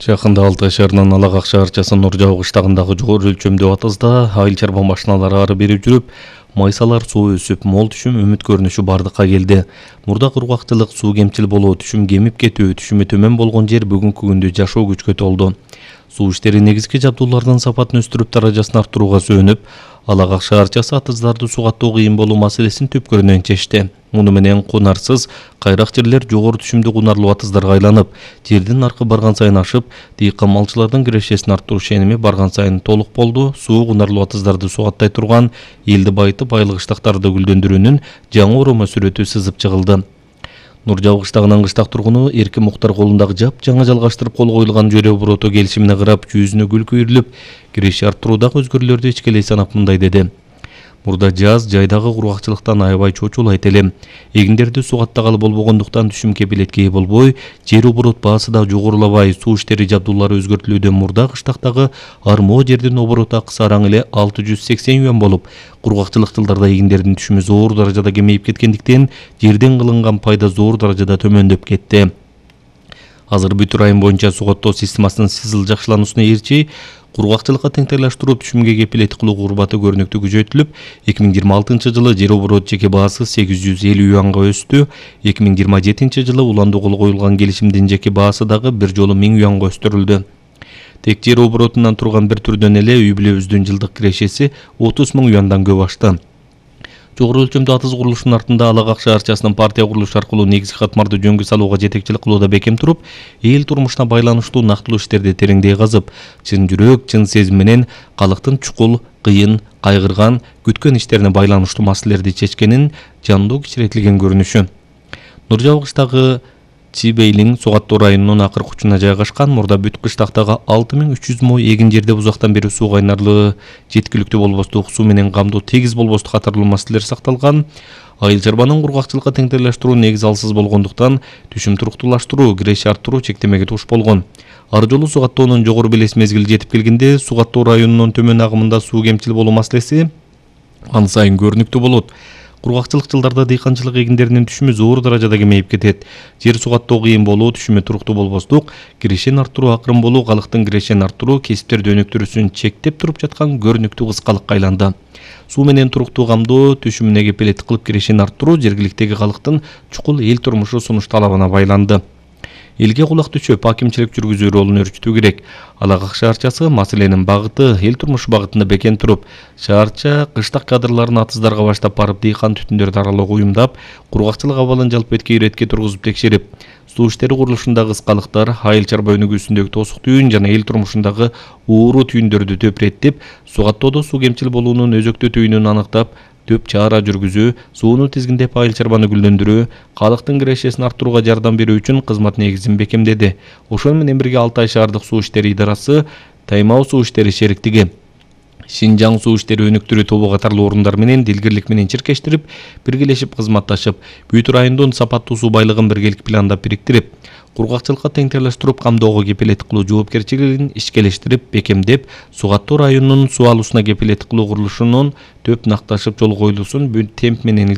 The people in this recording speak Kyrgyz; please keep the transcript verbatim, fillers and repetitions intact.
Жакында Алтай шаарынын Алагак шаарчасы Нуржабы кыштагындагы жогору өлчөмдүү атызда айыл чарба машиналары ары бери жүрүп, майсалар суу өсүп, мол түшүм үмүт көрүнүшү бардыкка келди. Мурда кургакчылык, суу кемчил болуу, түшүм кемип кетүү, түшүмү төмөн болгон жер бүгүнкү күндө жашоо күчкө толду. Суу иштери негизги жабдуулардын сапатын өстүрүп, даражасын арттырууга сөөнүп, Алагак шаарчасы атыздарды сугаттоо кыйын болуу маселесин түпкөрүнөн чечти. Муну менен кунарсыз, кайрак жерлер жогору түшүмдүү кунарлуу атыздарга айланып, жердин наркы барган сайын ашып, дыйкан малчылардын кирешесин арттыруу ишеними барган сайын толук болду. Суу кунарлуу атыздарды сугаттай турган, элди байытып, айыл кыштактарды гүлдөндүрүүнүн жаңы оромо сүрөтү сызып чыгылды. Нуржабы кыштагынын кыштак тургуну Эркин Муктар колундагы жап жаңы жалгаштырып кол коюлган жөрө обороту келишимине карап, жүзүнө гүл күйрүлүп, киреше арттыруудагы өзгөрүүлөрдү ичкелей санап мындай деди: Мурда жаз жайдагы кургакчылыктан аябай чочулайт элем. Эгиндерди сугаттагалы болбогондуктан түшүм кепилетке ээ болбой, жер оборот баасы да жогорулабай, суу иштери жабдуулары өзгөртүлүүдөн мурда кыштактагы армоо жердин оборот акысы араң эле алты жүз сексен юан болуп, кургакчылык жылдарда эгиндердин түшүмү зор даражада кемейип кеткендиктен жерден кылынган пайда зор даражада төмөндөп кетти. Азыр бүт район боюнча сугаттоо системасынын сизил жакшылануусуна ээрчи, кургакчылыкка теңдештирип түшүмгө кепилет кылуу курбаты көрүнүктүү күчөтүлүп, эки миң жыйырма алтынчы жылы жер оборот жеке баасы сегиз жүз элүү юанга өстү. эки миң жыйырма жетинчи жылы уландуу кол коюлган келишимдин жеке баасы дагы бир жолу миң юанга өстүрүлдү. Тек жер оборотунан турган бир түрдөн эле үй бүлөбүздүн жылдык кирешеси отуз миң юандан көп ашты. Жогору өлчөмдүү атыз курулушунун артында Алагак шаарчасынын партия курулушу аркылуу негизги катмарды жөнгө салууга жетекчилик кылууда бекем туруп, эл турмушуна байланыштуу нактылуу иштерди тереңдей казып, чын жүрөк, чын сезим менен калктын чукул, кыйын, кайгырган, күткөн иштерине байланыштуу маселелерди чечкенин жандуу кичиретилген көрүнүшү. Нуржабы кыштагы Чибейлин Сугаттоо районунун акыркы учуна жайгашкан. Мурда бүт кыштактагы алты миң үч жүз мо эгин жерде узактан бери суу кайнарлыгы жеткиликтүү болбостук, суу менен камдоо тегиз болбостук катарлуу маселелер сакталган. Айыл чарбанын кургакчылыкка теңдештирүү негизи алсыз болгондуктан түшүм туруктуулаштыруу, киреше арттыруу чектемеге туш болгон. Ар жолу сугаттоонун жогору белес мезгили жетип келгенде, Сугаттоо районунун төмөн агымында суу кемчил болуу маселеси ан сайын көрүнүктүү болот. Кургакчылык жылдарда дыйканчылык эгиндеринин түшүмү зор даражада кемейип кетет. Жер сугаттоо кыйын болуу, түшүмү туруктуу болбостук, кирешени арттыруу акырын болуу, калктын кирешени арттыруу кесиптерди өнүктүрүүсүн чектеп туруп жаткан көрүнүктүү кыскалыкка айланды. Суу менен туруктуу камдоо, түшүмүнө кепилет кылып кирешени арттыруу жергиликтеги калктын чукул эл турмушу сунуш талабына байланды. Элге кулак түшөп, акимчилик жүргүзүү ролун өрчүтүү керек. Алагак шаарчасы маселенин багыты эл турмушу багытында бекем туруп, шаарча кыштак кадрларын атыздарга баштап барып, дыйкан түтүндөрдү аралоого уюмдап, кургакчылык абалын жалпы иретке тургузуп текшерип, суу иштери курулушундагы кыскалыктар, айыл чарба өнүгүүсүндөгү тосук түйүн жана эл турмушундагы ууруу түйүндөрдү төпүреттип, сугаттоодо суу кемчил болуунун өзөктүү түйүнүн аныктап, төп чара жүргүзүү, сууну тизгиндеп айыл чарбаны гүлдөндүрүү, калктын кирешесин арттырууга жардам берүү үчүн кызмат негизин бекемдеди. Ошол менен бирге Алтай шаардык суу иштери идарасы, Таймау суу иштери шериктиги, Шинжаң суу иштери өнүктүрүү тобу катарлуу орундар менен дилгирлик менен чиркештирип, биргелешип кызматташып, бүт райондун сапаттуу суу байлыгын биргелик пландап бириктирип, кургакчылыкка теңдештирип камдоого кепилет кылуу жоопкерчилигин ишкелештирип, бекемдеп, Сугаттоо районунун суу алуусуна кепилет кылуу курулушунун төп накташып жол коюлуусун бүт темп менен